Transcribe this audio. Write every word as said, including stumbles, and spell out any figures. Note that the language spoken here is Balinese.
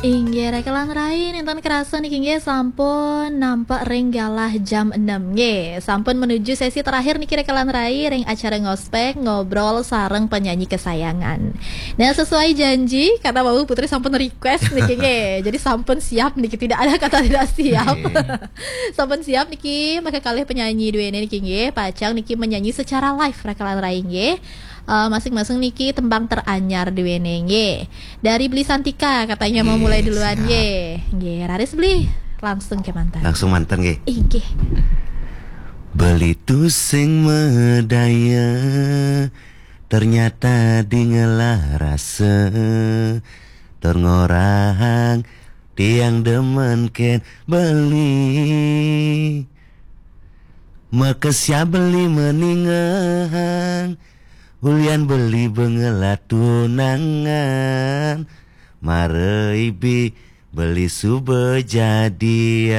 Inggih, Rekelan Rai, nénten kerasa niki nggih sampun nampek ring galah jam enam nggih. Sampun menuju sesi terakhir niki Rekelan Rai ring acara Ngospek, ngobrol sareng penyanyi kesayangan. Nah, sesuai janji, kata Bapak Putri sampun request niki nggih. Jadi sampun siap niki, tidak ada kata tidak siap. Sampun siap niki, maka kalih penyanyi duene niki nggih, pacang niki menyanyi secara live Rekelan Rai nggih. Eh, masing-masing niki tembang teranyar duene nggih. Dari Beli Santika katanya mau mulai duluan nggih. Nggih, raris Beli. Langsung kemanten. Langsung manten nggih. Inggih. Beli tusing medaya, ternyata dingelah rasa, tur ngorahang tiang demen ken beli. Makesya beli meningehang, ulian beli bengelah tunangan, mara ibi beli suba jadian.